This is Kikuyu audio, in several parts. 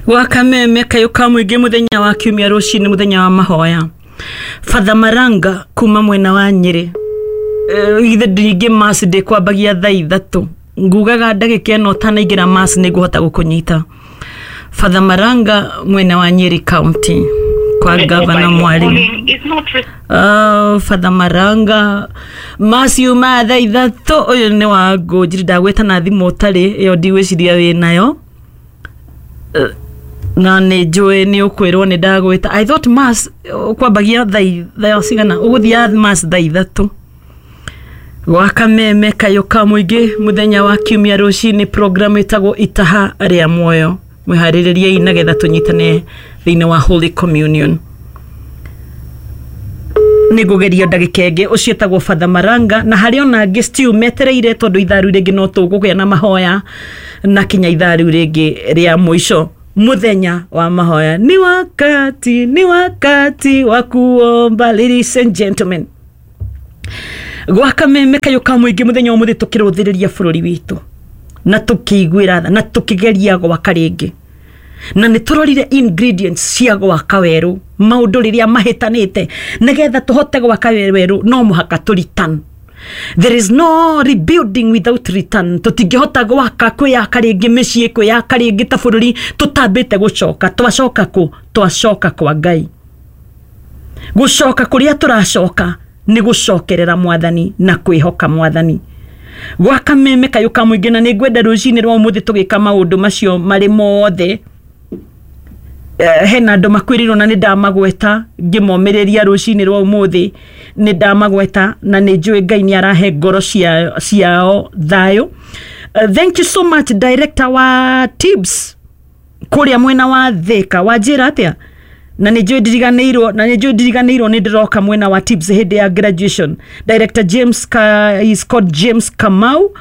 Gwa kameme kayũ ka mũingĩ, mũthenya wa kiumia rũcinĩ, mũthenya wa mahoya. Father Maranga kuma mwena wa Nyĩrĩ. Ithe ndingĩ mass ndĩkwambagia thaa 3, ngugaga ndagĩka ĩno ũtanaingĩra mass nĩ ngũhota gũkũnyita. Father Maranga, mwena wa Nyeri County, kwa Gavana Mwalimu. Father Maranga, mass yuma thaa 3. Ũyũ nĩ wa ngũnjiri, ndagwĩta na thimũ ũtarĩ ĩyo, ndigwĩciria wĩ nayo. Na nĩ njũĩ nĩ ũkwĩrwo nĩ ndagwĩta. I thought mass kwambagia thaa cigana, ũgũthiaga mass thaa 3. Gwa kameme kayũ ka mũingĩ, mũthenya wa kiumia rũcinĩ, program ĩtagwo Itaha rĩa Muoyo. Mwĩharĩrĩriei nagetha tũnyitane thĩinĩ wa Holy Communion. Nĩ ngũgeria ndagĩka ĩngĩ. Ũcio ĩtagwo Father Maranga, na harĩ ona angĩ still metereire, tondũ ithaa rĩu rĩngĩ no tũkũgĩa na mahoya na kinya ithaa rĩu rĩngĩ rĩa mũico, mũthenya wa mahoya. Ni wakati wa kuomba, ladies and gentlemen. Gwa kameme kayũ ka mũingĩ, mũthenya wa mũthĩ, tũkĩrũthĩrĩria bũrũri witũ na tũkĩiguĩra tha na tũkĩgeria gwaka rĩngĩ, na nĩ tũrorire ingredients cia gwaka werũ, maũndũ rĩrĩa mahĩtanĩte. Nĩgetha tũhote gwaka werũ, no mũhaka tũ return. There is no rebuilding without return. Tũtingĩhota gwaka, kwĩyaka rĩngĩ mĩciĩ, kwĩyaka rĩngĩ ta bũrũri, tũtambĩte gũcoka. Twacoka kũ? Twacoka kwa Ngai. Gũcoka kũrĩa tũracoka nĩ gũcokerera Mwathani na kwĩhoka Mwathani. Gwa kameme kayũ ka mũingĩ, na nĩ ngwenda rũcinĩ rwa ũmũthĩ tũgĩka maũndũ macio marĩ mothe. Hena andũ makwĩrĩirwo na nĩ ndamagweta ngĩmomĩrĩria rũcinĩ rwa ũmũthĩ, nĩ ndamagweta na nĩ njũĩ Ngai nĩ arahe ngoro ciao thayũ. Thank you so much, director wa TIBS kũrĩa mwena wa Thĩka. Wanjĩra atĩa? Na nĩ njũĩ ndiriganĩirwo, na nĩ njũĩ ndiriganĩirwo, nĩ ndĩroka mwena wa TIBS hĩndĩ ya graduation. Director James is called James Kamau,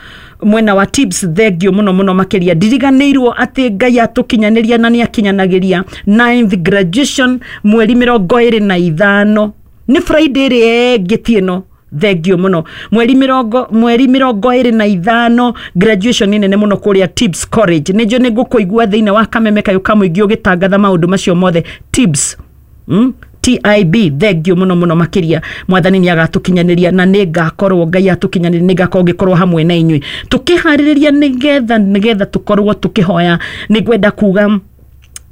mwena wa TIBS. Thengio mũno mũno makĩria. Ndiriganĩirwo atĩ Ngai atũkinyanĩria na nĩ akinyanagĩria, ninth graduation mweri 25, nĩ Friday ĩrĩa ĩngĩ ti ĩno. Thengio mũno. Mweri 25, graduation nĩ nene mũno kũrĩa TIBS College. Nĩ njũĩ nĩ ngũkũigua thĩinĩ wa kameme kayũ ka mũingĩ ũgĩtangatha maũndũ macio mothe. TIBS, TIB, thengio mũno mũno makĩria. Mwathani nĩ agatũkinyanĩria na nĩ ngakorwo, Ngai atũkinyanĩria, nĩ ngakorwo ngĩkorwo hamwe na inyuĩ tũkĩharĩrĩria nĩgetha tũkorwo tũkĩhoya. Nĩ ngwenda kuga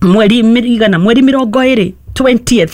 mweri igana, mweri 20, 20th,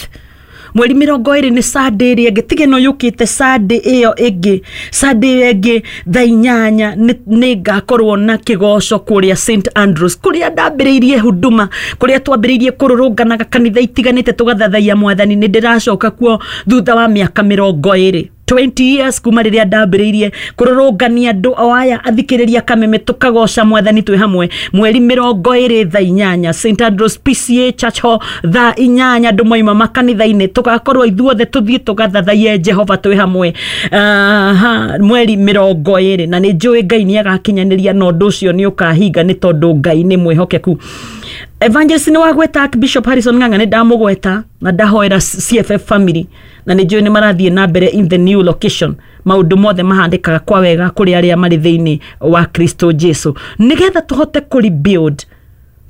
mweri 20 nĩ Sunday ĩrĩa ĩngĩ, tiga ĩno yũkĩte, Sunday ĩyo ĩngĩ. Sunday ĩyo ĩngĩ thaa 8 nĩ ngakorwo na kĩgoco kũrĩa St Andrews, kũrĩa ndambĩrĩirie huduma, kũrĩa twambĩrĩirie kũrũrũnganaga kanitha itiganĩte tũgathathaia Mwathani. Nĩ ndĩracoka kuo thutha wa mĩaka 20, 20 years kuma rĩrĩa ndambĩrĩirie kũrũrũngania andũ o aya athikĩrĩria kameme tũkagoca Mwathani twĩ hamwe. Mweri 20 thaa 8, St Andrews PCA Church Hall, thaa 8, andũ moima makanitha-inĩ, tũgakorwo ithuothe tũthiĩ tũgathathaiye Jehova twĩ hamwe. Aha, mweri 20, na nĩ njũĩ Ngai nĩ agakinyanĩria na ũndũ ũcio nĩ ũkahinga, nĩ tondũ Ngai nĩ mwĩhokeku. Evangelist nĩ wagweta Bishop Harrison Ng'ang'a, nĩ ndamũgweta na ndahoera CFF family, na nĩ njũĩ nĩ marathiĩ na mbere in the new location. Maũndũ mothe mahandĩkaga kwa wega kũrĩ arĩa marĩ thĩinĩ wa Kristo Jesu. Nĩgetha tũhote kũ rebuild,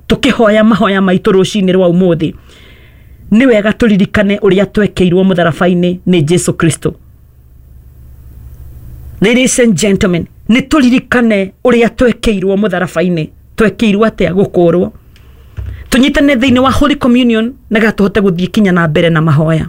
tũkĩhoya mahoya maitũ rũcinĩ rwa ũmũthĩ, nĩ wega tũririkane ũrĩa twekĩirwo mũtharaba-inĩ nĩ Jesu Kristo. Ladies and gentlemen, nĩ tũririkane ũrĩa twekĩirwo mũtharaba-inĩ. Twekĩirwo atĩa? Gũkũrwo. Tũnyitane thĩinĩ wa Holy Communion nĩgetha tũhote gũthiĩ kinya na mbere na mahoya.